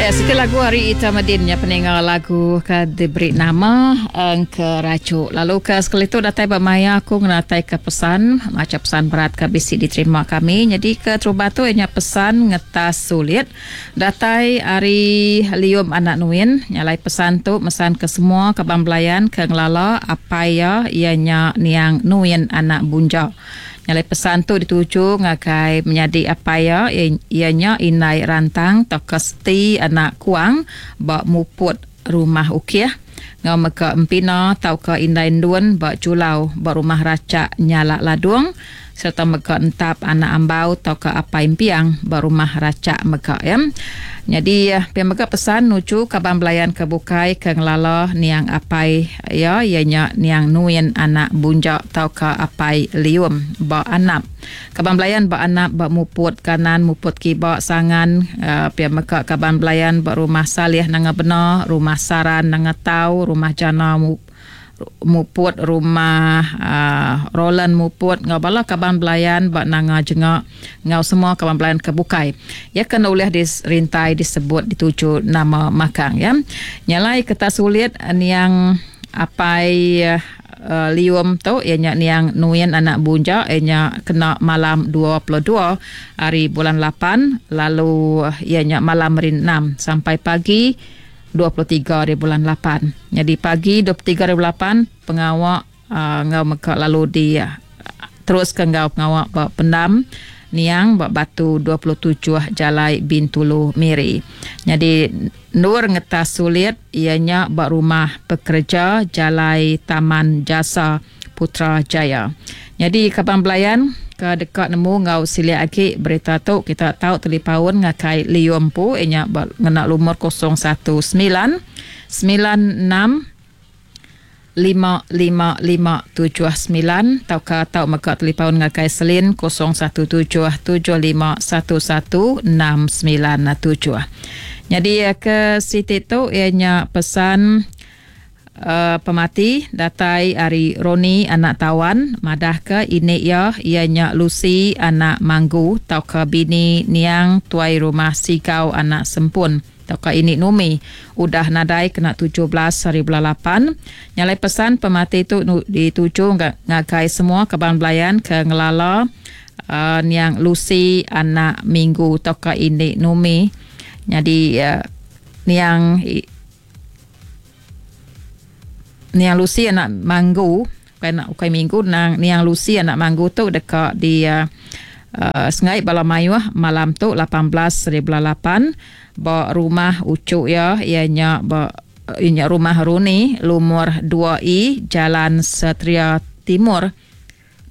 Siti lagu ari Ita Medin nya peninga lagu ke diberi nama Engkerajuk. Lalu ke sekali tu datai ba maya aku ngenataika pesan macha pesan berat ke bisi diterima kami. Nyadi ke terubah tu iya nya pesan ngetas sulit datai ari Lium Anak Nuin. Nya alai pesan tu mesan ke semua kaban belayan ke ngelala apai iya iya nya niang Nuin Anak Bunja. Nyalai pesan tu dituju ngagai menyadi apai iya, iya nya Indai Rantang tauka Seti anak Kuang ba Muput Rumah Ukih enggau mega Empina tauka Indai Endun ba Julau ba Rumah Rachak Nyalak Ladung sereta mega Entap anak Ambau tauka Apai Empiang ba Rumah Rachak mega. Nyadi pia mega pesan nuju kaban belayan ke bukai ke ngelala niang apai iya, iya nya niang Nuin anak Bunja tauka Apai Lium ba Anap. Kaban belayan ba Anap ba Muput kanan Muput kiba Sangan pia mega kaban belayan ba Rumah Salih Nanga Bena, Rumah Saran Nanga Tau, Rumah Jana Muput rumah Roland Muput enggau bala kaban belayan ba Nanga Jenga enggau semua kaban belayan ke bukai. Iya ke enda ulih dirintai disebut dituju nama makang iya. Nya alai keta sulit niang apai Lium tu iya nya niang Nuin anak Bunja iya nya kena malam 22 hari bulan lapan lalu iya nya malam hari enam sampai pagi 23 ari bulan lapan. Nyadi pagi 23 ari bulan lapan pengawa enggau mega lalu di teruska enggau pengawa ba pendam niang ba Batu 27 Jalai Bintulu Miri. Nyadi endur ngetas sulit iya nya ba Rumah Pekereja Jalai Taman Jasa Putrajaya. Nyadi kaban belayan ke deka nemu enggau silik agi berita tu kita tau telipaun ngagai Liu empu iya nya ba ngena lumur 019 96 55579 tauka tau mega telipaun ngagai Selin 017 75 11 697. Nyadi ke siti tu iya nya pesan Pemati datai ari Roni anak Tawan madahka ini iya iya nya Lucy anak Manggu tauka bini niang Tuai Rumah Sigau anak Sempun tauka ini Numi udah nadai kena 17 hari bulan lapan. Nya alai pesan pemati tu dituju ngagai semua kaban belayan ke ngelala niang Lucy anak Minggu tauka ini Numi nyadi niang Niang Lucy anak Manggu ukai anak ukai Minggu nang Niang Lucy anak Manggu tu deka di uh, sengai bala mayuh malam tu 18 hari bulan 8 ba rumah uchu iya iya nya ba iya nya rumah Runi lumur 2E Jalan Satria Timur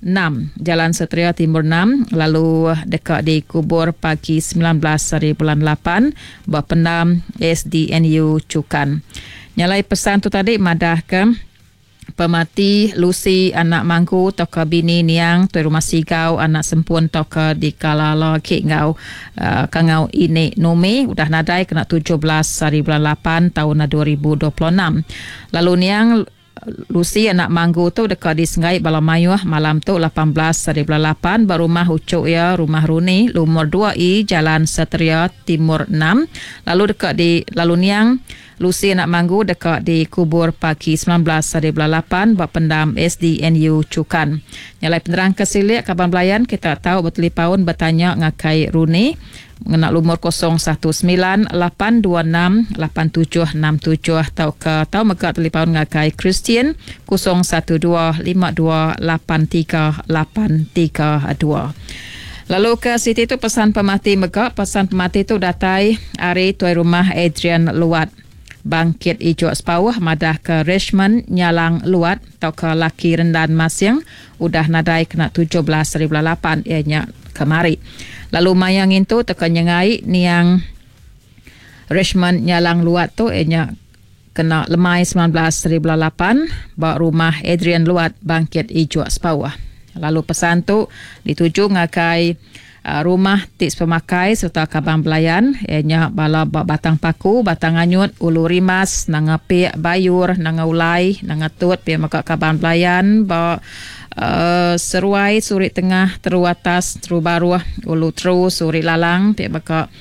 6, Jalan Satria Timur 6 lalu deka dikubur pagi 19 hari bulan 8 ba pendam SDNU Chukan. Nya alai pesan tu tadi madahka pemati Lucy anak Mangku tauka bini niang Tuai Rumah Sigau anak Sempun tauka dikalala agi enggau uh, kangau ini Numi udah nadai kena 17 hari bulan 8 taun 2026. Lalu niang Lucy anak Manggu tu deka disenggai bala mayuh malam tu 18 hari bulan 8 ba rumah uchu iya Rumah Runi lumur 2E Jalan Satria Timur 6 lalu deka di lalu niang Lucy anak Manggu deka dikubur pagi 19 hari bulan 8 ba pendam SDNU Chukan. Nya alai penerang ke silik kaban belayan kita tau betelipaun betanya ngagai Runi Ngena lumur 019 826 8767 tauka tau mega talipaun ngagai Christian 012 52 83 832. Lalu ke siti tu pesan pemati mega, pesan pemati tu datai ari Tuai Rumah Adrian Luat. Bangkit Ijok Sepauh madahka Richmond Nyalang Luat tauka laki Rendan Masing udah nadai kena 17 hari bulan lapan iya nya kemari. Lalu maya ngintu tauka nyengai niang Richmond Nyalang Luat tu iya nya kena lemai 19 hari bulan lapan ba rumah Adrian Luat Bangkit Ijok Sepauh. Lalu pesan tu dituju ngagai Rumah ti sepemakai sereta kaban belayan iya nya bala ba Batang Paku, Batang Anyut, Ulu Rimbas, Nanga Pik, Bayur, Nanga Ulai, Nanga Tut pia mega kaban belayan ba Seruai Suri Tengah Teru Atas Teru Baruh Ulu Teru Suri Lalang ti baka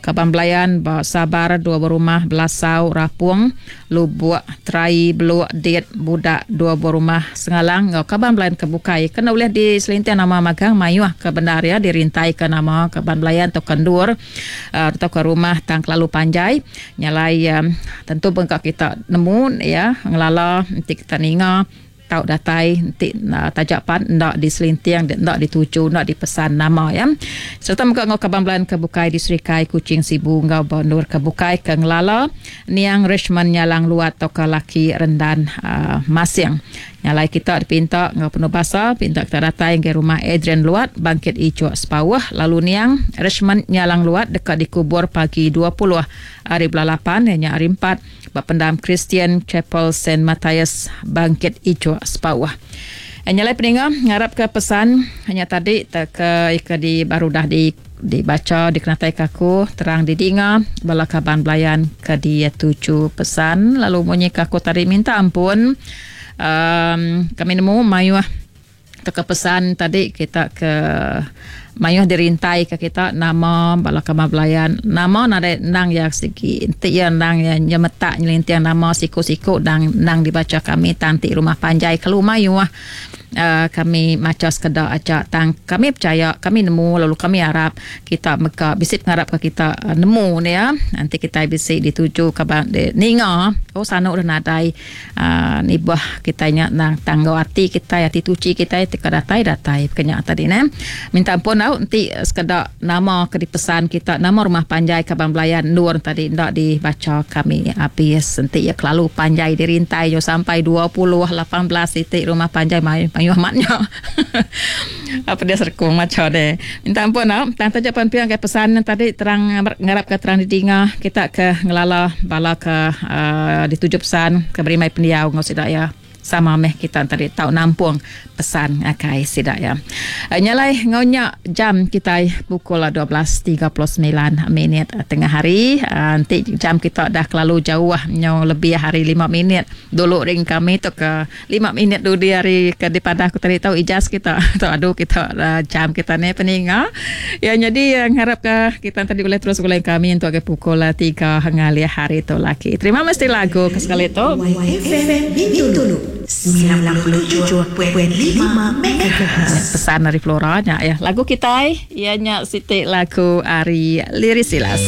kaban belayan ba Sabar dua buah rumah Belasau Rapung Lubuk Terai Beluk Dit Budak dua buah rumah Sengalang enggau kaban belayan ke bukai kena ulih diselinting nama magang mayuh ke bendar iya dirintaika nama kaban belayan tauka endur tauka rumah tang kelalu panjai. Nya alai tentu bengka kita nemu iya ngelala enti kita ninga tau datai enti taja pan enda diselinting enda dituju enda dipesan nama iya. Sereta mega enggau kaban belayan ke bukai di Serikai, Kuching, Sibu enggau ba endur ke bukai ke ngelala niang Richmond Nyalang Luat tauka laki Rendan Masing. Nya alai kita dipinta enggau penuh basa pinta kita datai ngagai rumah Adrian Luat, Bangkit Ijok Sepauh lalu niang Richmond Nyalang Luat deka dikubur pagi 20 hari bulan lapan iya nya hari empat ba pendam Christian Chapel Saint Matthias Bangkit Ijok Sepauh. Nya alai peninga ngarapka pesan nya tadi tauka ke di baru udah di dibacha dikenataika aku terang didinga bala kaban belayan ke dituju pesan lalu munyi ke aku tadi minta ampun um kami nemu mayuh tauka pesan tadi kita ke mayuh dirintai ke kita nama bala kaban belayan nama nadai endang iya sigi enti iya endang iya nyemetak nyelinting nama siku-siku endang endang dibacha kami tang ti rumah panjai kelu mayuh uhh kami macha sekeda aja tang kami pechaya kami nemu lalu kami arap kita mega bisi pengarap ke kita nemu ne iya enti kitai bisi dituju kaban ninga oh sanu deh nadai. Aaa nibah kitai nya endang tang enggau ati kitai ati tuchi kitai ti ka datai datai peka nya tadi neh. Minta ampun au enti sekeda nama ke dipesan kita nama rumah panjai kaban belayan endur tadi enda dibacha kami abis enti iya kelalu panjai dirintai nyau sampai 20 18 iti rumah panjai mayuh amat nya. Pedis rekung macha deh. Minta ampun au. Tang taja pan pia ngagai pesan ne tadi terang ngarap ka terang didinga kita ke ngelala bala ke uhh dituju pesan ke berimbai pendiau enggau sida iya. Sama meh kita tadi tau nampung pesan ngagai sida iya. Nya alai enggau nya jam kitai pukul 12:39 minit tengah hari. Enti jam kita dah kelalu jauh nyau lebih ari lima minit dulu ring kami tu ke Lima minit dudi hari ke dipadah ku tadi tau ijas kita tau adu kita jam kita ni peninga. Ya nyadi ngarap ka kita tadi ulih terus begulai kami untuk agi pukul tiga ngalih hari tu laki. Terima mesti lagu ke sekali tu. YFM Bintulu 97.5 MHz. Pesan ari Flora nya ya. Lagu kitai iya nya siti lagu ari Liris Silas.